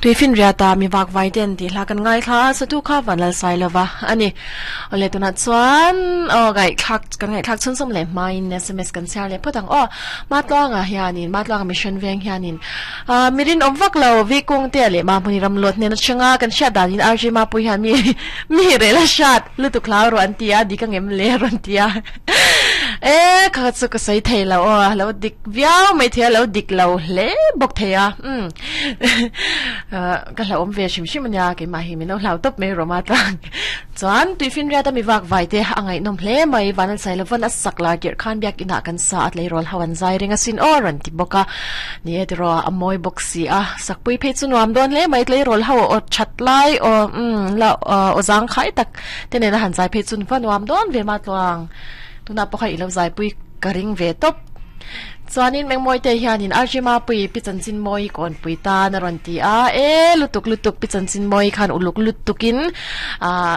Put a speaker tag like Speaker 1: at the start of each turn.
Speaker 1: Tuifinriata mi vak vai ten tih hla kan ngaithla a, satu kha Vanlal Sailova a ni. Awle tunah chuan aw ngaihthlak kan ngaihthlak chhunzawm leh hmain sms kan chhiar leh phawt ang aw. Matluanga hianin Matluanga Mission Veng hianin ah mi rinawm vak lo Vikung te leh Mahmuni Ramlawt hnen atanga kan hriat danin RJ Mapui hian mi mi rel a hriat lutuk hlau rawh an ti a, dik angem le a rawn ti a. E kha chu ka sawi thei lo aw, lo dik viau mai thei a, lo dik lo hle bawk thei a. Umm ka hlauhawm ve hrim hrim ania keimah hi min lo hlau tawp mai Roma tlang chuan tuifinriat a mi vak vai te a ngaihnawm hle mai van an sai lovan a sak lar tirh khan biakinah kan sa a tleirawl ho an zai reng asin aw rawn ti bawk a ni e tiraw a mawi bawk si a sakpui phei chu nuam dawn hle mai tleirawl ho aw that lai aw umm la aw zangkhai tak te nena han zai phei chu va nuam dawn ve ma tluang tunah pawh kha i lo zaipui ka ring ve tawp. Chuanin Mengmawite hianin RJ Mapui Pi Chanchinmawii kawnpui tan a rawn ti a, e lutuk lutuk Pi Chanchinmawii khan uluk lutukin ah.